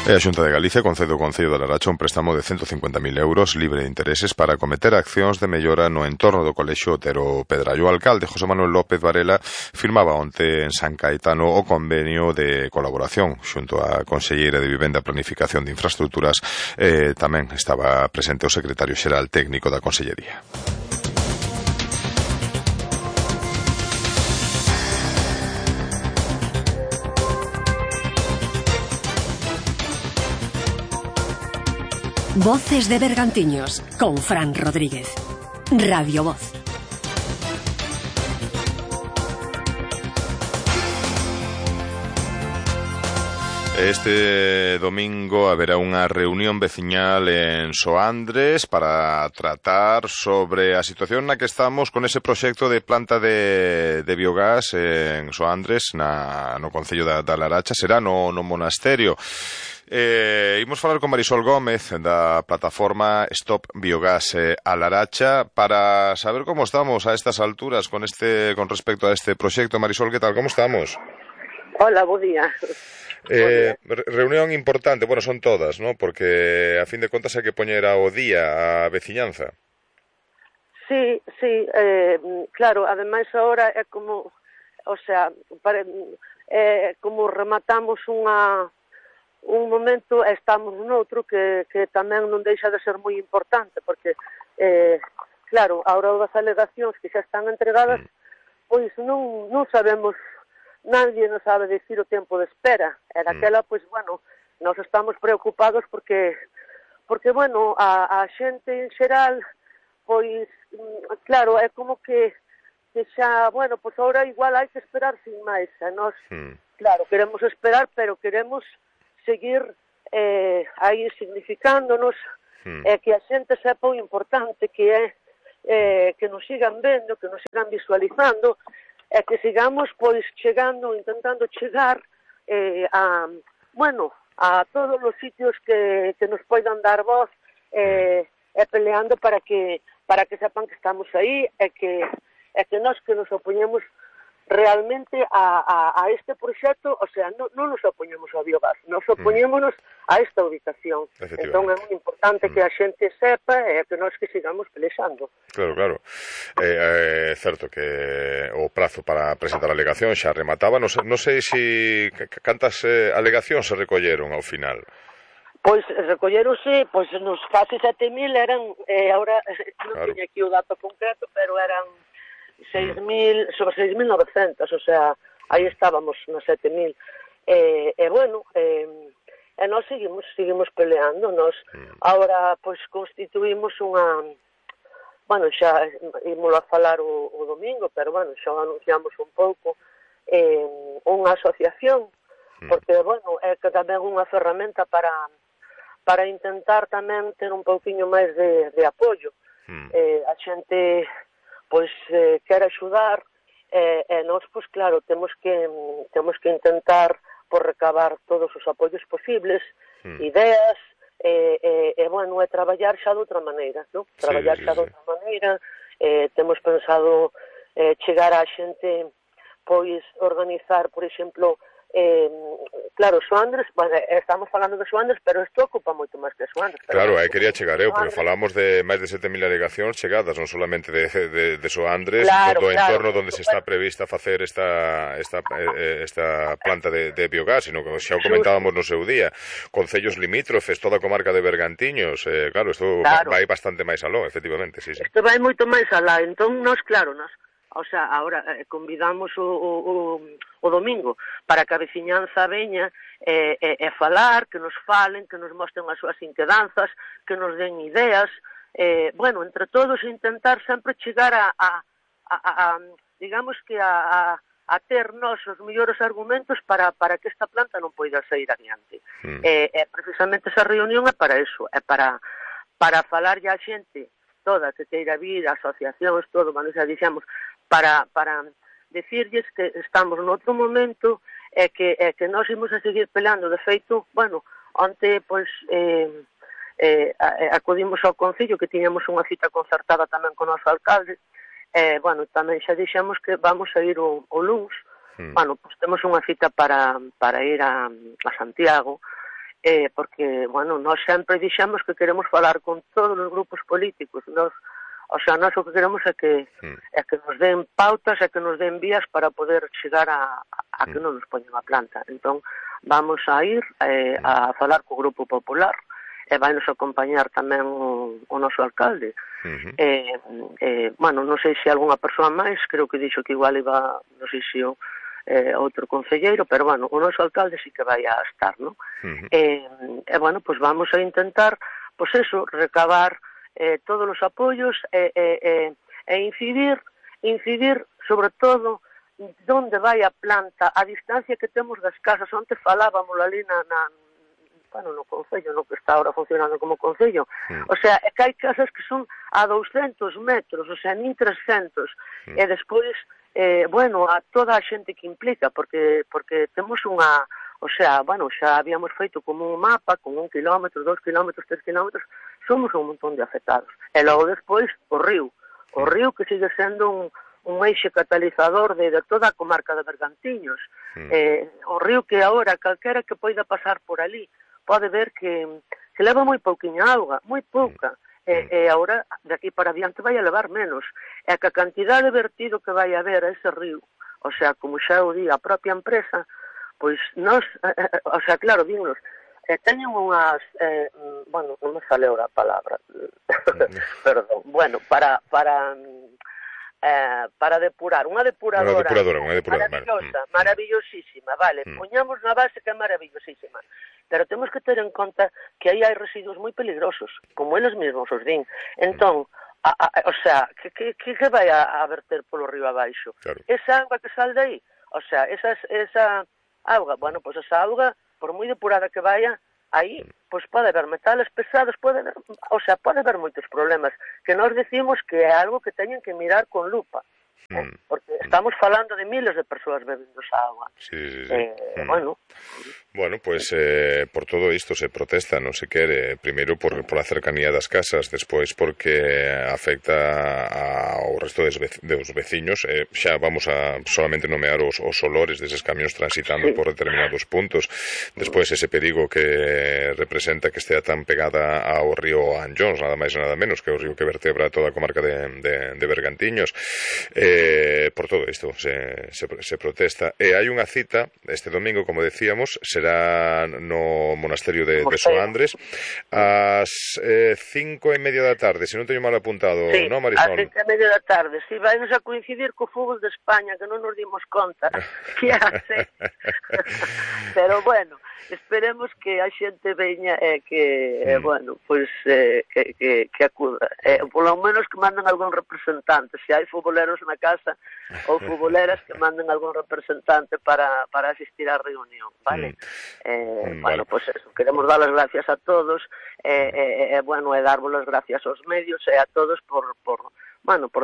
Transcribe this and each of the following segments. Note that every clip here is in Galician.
A Xunta de Galicia concede ao Concello de Laracha un préstamo de 150.000 euros libre de intereses para acometer accións de mellora no entorno do Colexio Otero Pedrallo. O alcalde José Manuel López Varela firmaba onte en San Caetano o convenio de colaboración xunto á Conselleira de Vivenda e Planificación de Infraestructuras. Tamén estaba presente o secretario xeral técnico da Consellería. Voces de Bergantiños, con Fran Rodríguez. Radio Voz. Este domingo haberá unha reunión veciñal en Soandres para tratar sobre a situación na que estamos con ese proxecto de planta de biogás en Soandres, no Concello da Laracha. Será no monasterio. Imos falar con Marisol Gómez da plataforma Stop Biogás a Laracha para saber como estamos a estas alturas con respecto a este proxecto. Marisol, que tal? Como estamos? Hola, bo día. Reunión importante, bueno, son todas, ¿no? Porque a fin de contas hai que poñer ao día a veciñanza. Sí, claro, ademais agora é como, o sea, como rematamos un momento e estamos noutro que tamén non deixa de ser moi importante, porque, claro, a hora das alegacións que xa están entregadas, pois non sabemos, nadie nos sabe decir o tempo de espera. E daquela, pois, bueno, nos estamos preocupados porque bueno, a xente en xeral, pois, claro, é como que xa, bueno, pois agora igual hai que esperar sin máis. E nós, claro, queremos esperar, pero queremos seguir aí significándonos, que a xente sepa o importante que é que nos sigan vendo, que nos sigan visualizando, e que sigamos pois chegando, intentando chegar a todos os sitios que nos poidan dar voz, e peleando para que sepan que estamos aí, e que nós que nos opoñemos realmente a este proxecto, o sea, non nos opoñemos ao biogás, nos opoñémonos a esta ubicación. Entón é moi importante que a xente sepa e que nós que sigamos pelexando. Claro. É certo que o prazo para presentar a alegación xa remataba. Non sei se cantas alegacións se recolleron ao final. Pois recolleronse, pois nos casi 7.000 eran, agora non tiña aquí o dato concreto, pero eran 6.000, sobre 6.900, o sea, aí estábamos nos 7.000. Bueno, nós seguimos peleando. Nós agora, pois, constituímos unha, bueno, xa ímolo a falar o domingo, pero, bueno, xa anunciamos un pouco, unha asociación, porque, bueno, é que tamén unha ferramenta para intentar tamén ter un pouquiño máis de apoio. A xente pois quer axudar, e nós, pois claro, temos que intentar por recabar todos os apoios posibles, ideas, bueno, é traballar xa de outra maneira, non? Traballar xa de outra maneira, temos pensado chegar á xente, pois organizar, por exemplo, claro, Soandres, bueno, estamos falando de Soandres, pero isto ocupa moito máis que Soandres. Claro, aí quería chegar eu, porque falamos de máis de 7.000 alegacións chegadas, non solamente de Soandres, do entorno onde se está prevista facer esta planta de biogás, sino que xa o comentábamos no seu día, concellos limítrofes, toda a comarca de Bergantiños, claro, isto vai bastante máis aló, efectivamente, sí. Isto vai moito máis alá, entón nós, claro, o sea, ahora convidamos o domingo para que a veciñanza veña e falar, que nos falen, que nos mostren as súas inquedanzas, que nos den ideas, bueno, entre todos intentar sempre chegar a digamos que a ter nós os mellores argumentos para que esta planta non poida sair adiante. Precisamente esa reunión é para eso, é para falarlle a xente toda que queira vir, asociacións, todo, bueno, xa dixemos, para decirlles que estamos noutro momento e que nós imos a seguir peleando. De feito, bueno, onte, pois, acudimos ao Concello, que tiñamos unha cita concertada tamén con o noso alcalde, bueno, tamén xa dixemos que vamos a ir o luns, bueno, pois temos unha cita para ir a Santiago, porque, bueno, nós sempre dixemos que queremos falar con todos os grupos políticos, nós o que queremos é que nos den pautas e que nos den vías para poder chegar a que non nos poñen a planta. Entón, vamos a ir a falar co Grupo Popular, e vai nos acompañar tamén o noso alcalde. Bueno, non sei se algunha persoa máis, creo que dixo que igual iba, non sei se outro concelleiro, pero bueno, o noso alcalde sí que vai a estar, non? Bueno, pues vamos a intentar, pues eso, recabar todos os apoios e incidir sobre todo onde vai a planta, a distancia que temos das casas. Onte falábamos ali no concello, no que está ahora funcionando como concello. O sea, é que hai casas que son a 200 metros, o sea, nin 300. E despois, bueno, a toda a xente que implica, porque temos unha... O sea, bueno, xa habíamos feito como un mapa con 1 kilómetro, 2 kilómetros, 3 kilómetros, somos un montón de afectados. E logo despois, o río que sigue sendo un eixe catalizador de toda a comarca de Bergantiños. O río que agora, calquera que poida pasar por ali, pode ver que leva moi pouquiña auga, moi pouca. E agora, de aquí para adiante, vai a levar menos. E que a cantidad de vertido que vai haber a ese río, o sea, como xa o di a propia empresa, pois nós, o sea, claro, dignos, teñen unhas, bueno, non me sale ahora a palabra, perdón, bueno, para depurar, unha depuradora maravillosísima, vale, poñamos na base que é maravillosísima, pero temos que ter en conta que aí hai residuos moi peligrosos, como eles mesmos os din. Entón, o sea, que vai a verter polo río abaixo? Claro. Esa agua que sal de aí, o sea, esa auga, bueno, pois esa auga, por moi depurada que vaya, aí, pois pode haber metales pesados, pode haber moitos problemas, que nós decimos que é algo que teñen que mirar con lupa, porque estamos falando de miles de persoas bebendo esa agua. Sí. Bueno, pues por todo isto se protesta, non se quere, primeiro por a cercanía das casas, despois porque afecta ao resto dos veciños, xa vamos a solamente nomear os olores deses camións transitando por determinados puntos, despois ese perigo que representa que estea tan pegada ao río Anllóns, nada máis e nada menos, que é o río que vertebra toda a comarca de Bergantiños. Por todo isto se protesta, e hai unha cita este domingo, como decíamos, será no monasterio de Soandres ás 5:30 da tarde, se non teño mal apuntado, sí, non, Marisol? Ás 5:30 da tarde, si vai nos a coincidir co fútbol de España, que non nos dimos conta que hace. Pero bueno, esperemos que a xente veña e que, bueno, pois que acuda, polo menos que manden algún representante, se hai futboleros na casa ou futboleras, que manden algún representante para asistir á reunión, vale? Bueno, pois eso, queremos dar as gracias a todos, bueno, e darvos as gracias aos medios e a todos por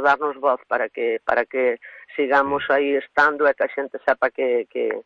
darnos voz para que sigamos aí estando e que a xente sepa que